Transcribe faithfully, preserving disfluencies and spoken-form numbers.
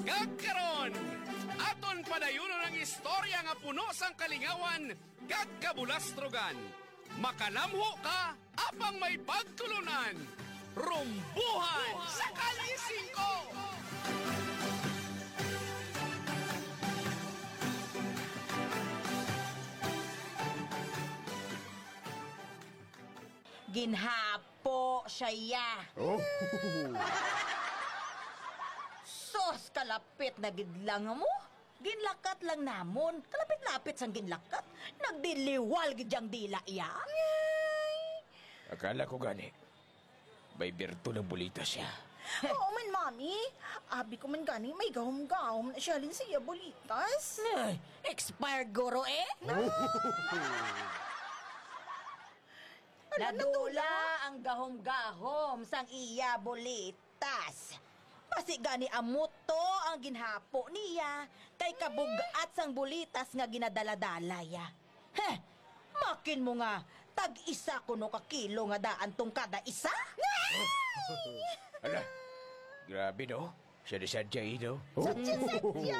Kag karon, aton padayunon ang istorya nga puno sang kalingawan kag kabulastrogan. Makalamho ka apang may pagtulon-an. Rumbuhan sa Kalye Singko! Ginhapo siya, ya. Oh. Sus, kalapit na gid lang mo. Ginlakat lang namon. Kalapit-lapit sang ginlakat. Nagdiliwal gid yang dila, ya. Akala ko gani, may birto ng bulita siya. Oo man, Mami. Abi ko man gani, may gahom-gahom na siya halin sa iya bulitas. Ay, expired guro eh. Ala, nadula. Nadula ang gahom-gahom sang iya bulitas. Basi gani amo to ang ginhapo niya, kay kabug-at sang bulitas nga ginadala-dala ya. Heh, makin mo nga, tag-isa kuno ka kilo nga daan tong kada isa? Ala, grabe no? Sadya-sadya, eh, no? Sadya-sadya.